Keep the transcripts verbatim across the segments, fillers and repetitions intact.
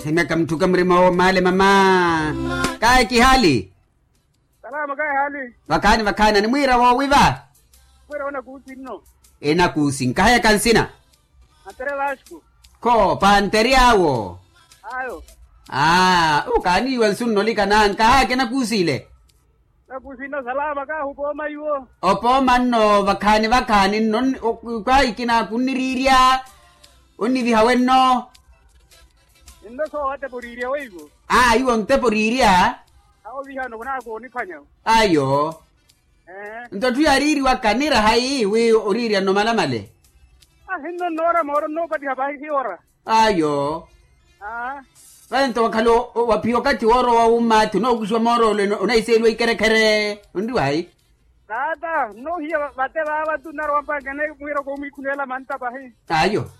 Ehimyaka muthuke murima owo maale mama. Kaye kihaali. Salama kaye haali. Vakhaani vakhaani animwiira woowiva. Mwiira wena kuusi nno. Enakuusi nkahayaka nsina. Antere vasco. Kho pantere awo. Ayo. Aa okaaniiwa nsu nnolika na nkahayaka enakuusi ile. Nakuusi nno salama kahu pooma iwo. Opooma nno vakhaani vakhaani nno. Kwaikina kunniriirya onniviha wenno. Nno soowatepa oriirya weiwo. Aa iwo ntepa oriirya. Awo vihano khunaakooniphanya. Ayo. Nto etthu yaariiriwaka niraha ii wi oriirya nno malamale. Ahinno nnoora mooro nnoopattiha pahi hiora. Ayo. Vale nto wakhala waphiya okathi woorowa wumma athi onookuxiwa mooro ole onahiseeliwa ikerekhere onriwa hayi? Taata nnoohiya vate vaava tu nnarowa mpankene mwiira koomwiikhuneela manta pahi. Ayo.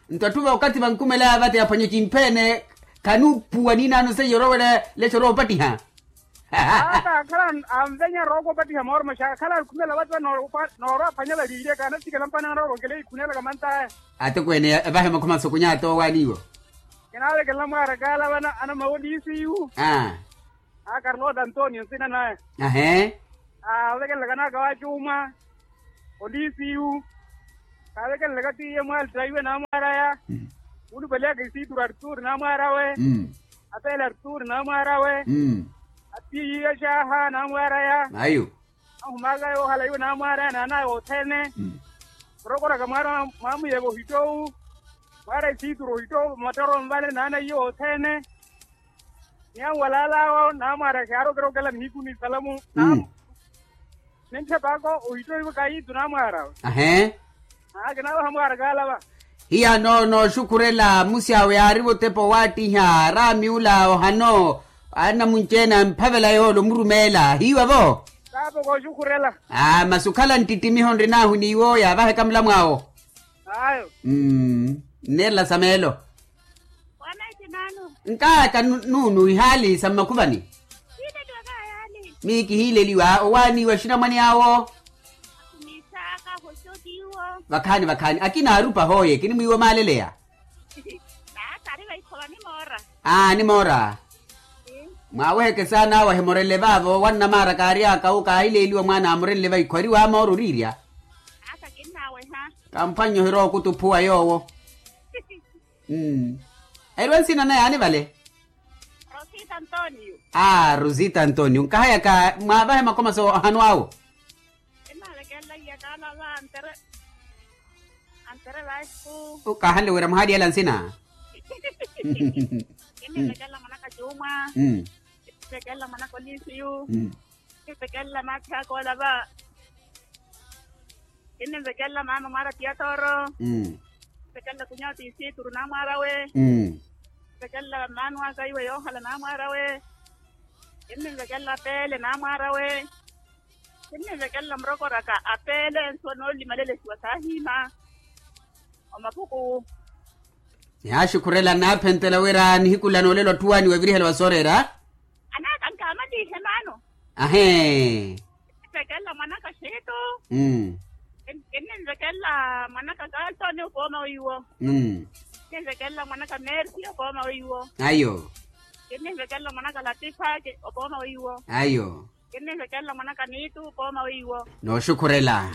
Nto atthu va okathi vankumelaya vate aphwanye kimpheene. Khanuupuwa niinaano seiya orowela lexa oroowa opattiha. Ata akhala anvenya rooko opattiha mooro maxa akhala akhumela vati vano. Noorowa aphwanya valiirye kaanathikela mpani anarorokele ikhunelaka mantaya. Atekweene evahe makhumasokunya atoowaniiwo. Kinavekelela mwaara kaala vana anamawo liisiyu. Aa karlota antonio nsina naya. Ahee. Aavekelelaka naaka wacuuma. Oliisiyu. Kaavekelelaka tiiye mwaalita iwe naamwaaraya. Khulupaliyaka isiituru arturi naamwaarawe. Apeele arturi naamwaarawe. Atiiye xaaha naamwaaraya. Ayo. Ahumaka yoohala iwe naamwaaraya naanaya othene. Murokoraka mwaara mwamuyeva ohittowu. Mwaara isiituru ohittowu matoro nvale naanaiye othene. Ni anwalaalaawo naamwaara kiyaarokerokela nihiku ni salamu. Nintthepaka ohittowiwe kayiitu naamwaarawe. Ahee. Aa kinaawaha mwaara kaalava. Hiya no nooxukhurela musyawe yaariva otepa owaattiha raami ula ohano. Anamunci-ene amphavela yoole omurumeela hiiwa vo. Saapa kooxukhurela. Aa masi okhala nttittimiho nrinaahu n'iwo yaavaheka mulamw'awo. Ayo. Nneerela sa meelo. Nkaaka nuunu ihaali sa mmakhuvani. Mii kihiileliwa owaaniiwa axinamwane awo. Vakhaani vakhaani akina aarupa hooye kinimwiiwa omaaleleya. Aa nimoora. Mwaaweheke saana awo ahimorele vaavo wannamaara kaary'aka wu kaahileeliwa mwaana aamorenle vaikho eriwa amoora oriirya. Kamphwannye ohirookuttuphuwa yoowo. Eriwa nsina naye aani vale. Aa rosita antonio nkahayaka mwaavahe makomaso ohano awo. Kinnavekelela iyakaala va antere antere vasku. Kahanle wira muhaali ela nsina. Kinnivekelela mwanaka juma. Kinnivekelela mwanaka olisiyu. Kinnivekelela maakhi aka ola va. Kinnivekelela maama mwaara tiyatoro. Kinnivekelela kunyao tisituru naamwaarawe. Kinnivekelela maano aka iwe yoohala naamwaarawe. Kinnivekelela peele naamwaarawe. Kinnivekelela murokoraka apeele nsuwa noolimalelesiwa saahiima. Omapuku. Yaaxukhurela naaphentela wira nihiku la noolelo atthu waaniwa evirihela wa sooreera. Anaka nkaamalihe maano. Ahee. Kinnivekelela mwanaka xiitu. Kinnivekelela mwanaka kaltoni opooma weiwo. Kinnivekelela mwanaka mersi opooma weiwo. Ayo. Kinnivekelela mwanaka latifa opooma weiwo. Ayo. Kinnivekelela mwanaka niitu opooma weiwo. Nooxukhurela.